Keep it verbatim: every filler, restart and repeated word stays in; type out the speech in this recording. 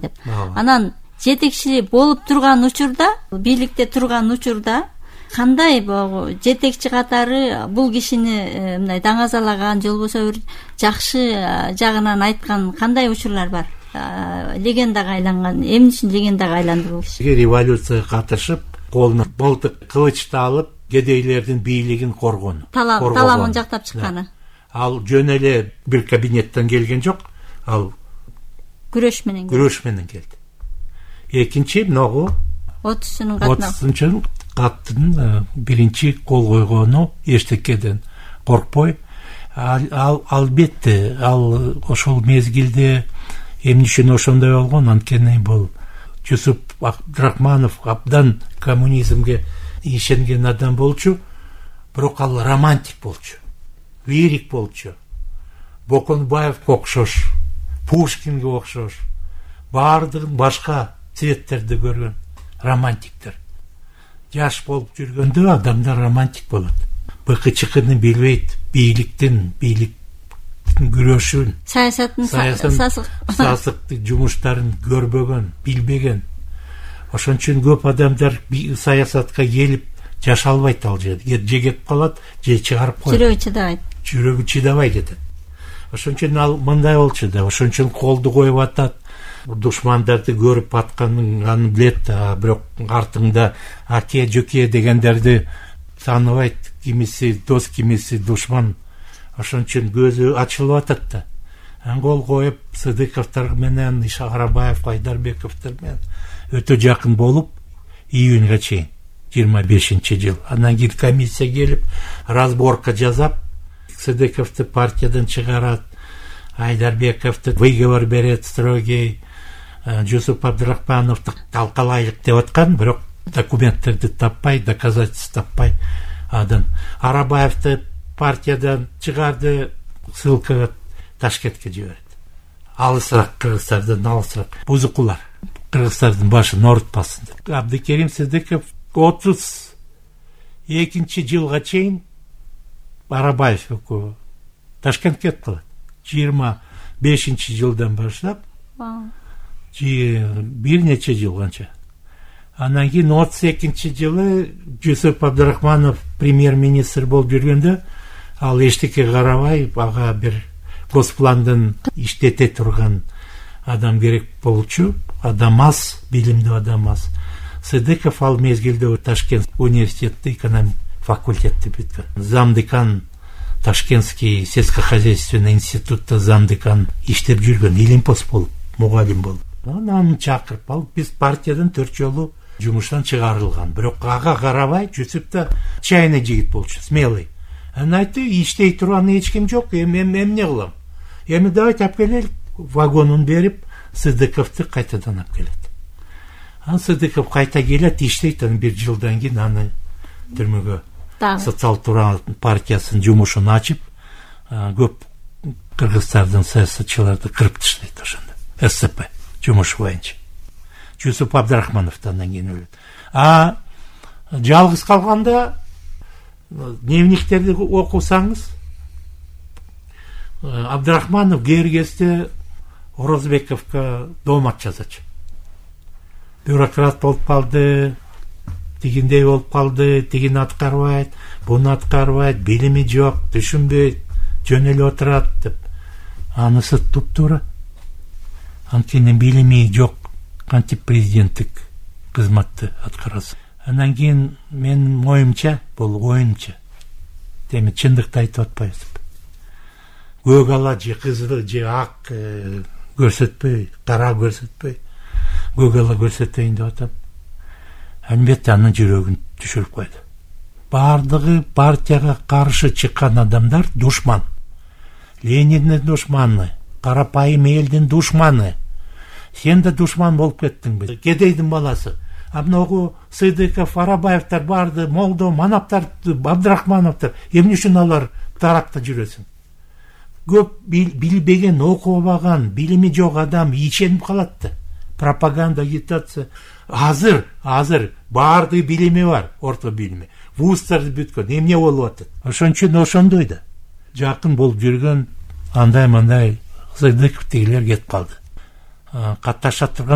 деп. Анан жетекчи болуп турган учурда, бийликте турган учурда кандай жетекчи катары бул кишини мындай даңазалаган же болбосо бир жакшы жагынан айткан кандай учурлар бар? Легендага айланган, эмне үчүн легендага айланды бул киши? Революцияга катышып, колуна мылтык, кылычты алып, кедейлердин бийлигин коргону. Таламын жактап чыкканы. Ал жөн эле бир кабинеттен келген жок, ал күрөш менен күрөш менен келди. Экинчи могу отузунчу катына отузунчу каттын биринчи кол койгону эчтекеден коркпой. Ал албетте ал ошол мезгилде эмне үчүн ошондой болгон, анткени бул Жусуп Абдрахманов абдан коммунизмге ишенген адам болчу, бирок ал романтик болчу, лирик болчу. Боконбаевге окшош, Пушкинге окшош, баардыгын башка цветтерди көргөн романтиктер. Жаш болуп жүргөндө адамдар романтик болот. Быкычыкыны билбейт, бийликтин, бийликтин күрөшүн, саясаттын сасык жумуштарын көрбөгөн, билбеген. Ошон үчүн көп адамдар саясатка келип жаша албайт, ал жерде же кетип калат, же чыгарып коет. Жүрөгү чыдабайт. Жүрөгү чыдабай кетет. Ошон үчүн ал мындай болчу да, ошон үчүн колду коюп атат. Душмандарды көрүп атканын аны билет, бирок артыңда аке, жөке дегендерди тааныбайт. Кимиси дос, кимиси душман. Ошон үчүн көзү ачылып атат да. Кол коюп, Сыдыковдор менен, Ишарабаев, Айдарбековдор менен өтө жакын болуп, июньга чейин, жыйырма бешинчи жыл. Анан кийин комиссия келип, разборка жасап, Сыдыковду партиядан чыгарат, Айдарбековду выговор берет строгий, Жусуп Абдрахмановду талкалайлык деп аткан, бирок документтерди таппай, доказательств таппай. Адан Арабаевду партиядан чыгарды, ссылкага Ташкентке жиберет. Алысыраак, Кыргызстардан алысыраак. Бузукулар Кыргыздардын башын оорутпасын деп. Абдыкерим Сыдыков отуз экинчи жылга чейин Арабаев экөө Ташкентке кетип калат. жыйырма бешинчи жылдан баштап бир нече жыл канча. Анан кийин отуз экинчи жылы Жусуп Абдрахманов премьер-министр болуп жүргөндө, ал эчтеке карабай, ага бир госпландын иштете турган адам керек болчу. Адам аз, билимдүү адам аз. Сыдыков ал мезгилде Ташкент университетте экономик факультетти бүткөн. Замдекан Ташкентский сельскохозяйственный институтта замдекан иштеп жүргөн, илимпос болуп, мугалим болуп. Анан чакырып алып, биз партиядан төрт жолу жумуштан чыгарылган. Бирок ага карабай, Жусуп да чайный жигит болчу, смелый. Анан айтты, иштей турган эч ким жок, эми эмне кылам? Эми давайте алып келели, вагонун берип, Сыдыковду кайтадан алып келет. Анан Сыдыков кайта келет, иштейт, анан бир жылдан кийин аны түрмөгө социал-туран партиясынын жумушун ачып, көп кыргыздардын саясатчыларды кырып таштайт ошондо. ССП жумушу боюнча. Жусуп Абдрахмановдон кийин өлөт. А жалгыз калганда дневниктерди окусаңыз, Абдрахманов кээ кезде Орозбековго доомат жазачу. Бюрократ болуп калды, тигиндей болуп калды, тигини аткарбайт, буну аткарбайт, билими жок, түшүнбөйт, жөн эле отурат деп. Анысы туп-туура. Анткени билими жок, кантип президенттик кызматты аткарасың. Анан кийин менин оюмча, бул оюмча. Эми чындыкты айтып атпайбыз. Көк ала же кызыл же ак көрсөтпөй, кара көрсөтпөй, көк ала көрсөтөйүн деп атам. Албетте анын жүрөгүн түшүрүп койду. Бардыгы партияга каршы чыккан адамдар душман. Лениндин душманы, карапайым элдин душманы. Сен да душман болуп кеттиңби? Кедейдин баласы. А многу Сыдыков, Арабаевдер барды, Молдо, Манаптар, Абдрахмановдор. Эмне үчүн алар тарапта жүрөсүң? Көп билбеген, окубаган, билими жок адам ишенип калат да. Пропаганда, агитация. Азыр, азыр баардыгы билими бар, орто билими. Вуздарды бүткөн, эмне болуп атат? Ошон үчүн ошондой да. Жакын болуп жүргөн андай-мындай Сыдыков тегилер кетип калды. катташа турган